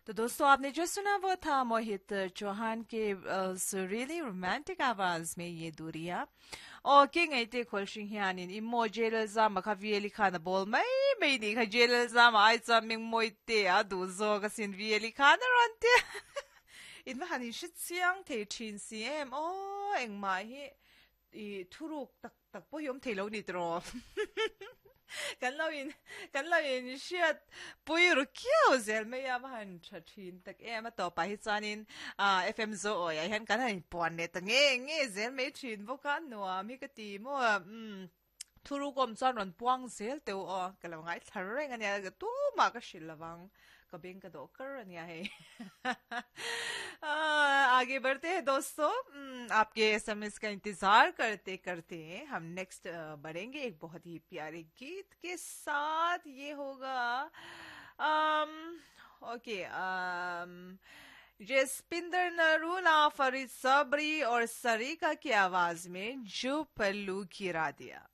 तो दोस्तों, आपने जो सुना वो था मोहित चौहान के सुरीली रोमांटिक आवाज में ये दूरियां। Okay, ngai te khol hring hianin i maw jail zama kha VL khan a ball mai mai ni kha jail zama ai chuan ming mawi te a duh zawk asin VL khan a rawn ti in va han in hre chiang thei thin si em aw engmah hi i thuruk tak tak pawh hi awm thei lo ni tiraw kan lo in kan lo in hriat pui ru khiau zel mai a va han tha thin tak em a tawpah hi chuanin ah FM zo awiah hian kan han inpuan leh ta nge nge zel mai thin bawk a nuam hi ka ti maw umm thuruk awm chuan rawn puang zel teuh aw ka lo ngaithla reng ania tumah ka hrilh lovang. Ka beng ka dawh kar ania hei. आगे बढ़ते हैं दोस्तों, आपके SMS का इंतजार करते करते हम नेक्स्ट बढ़ेंगे एक बहुत ही प्यारे गीत के साथ। ये होगा ओके जसपिंदर नरूला, फरीद सबरी और सरीका की आवाज में जो पल्लू गिरा दिया।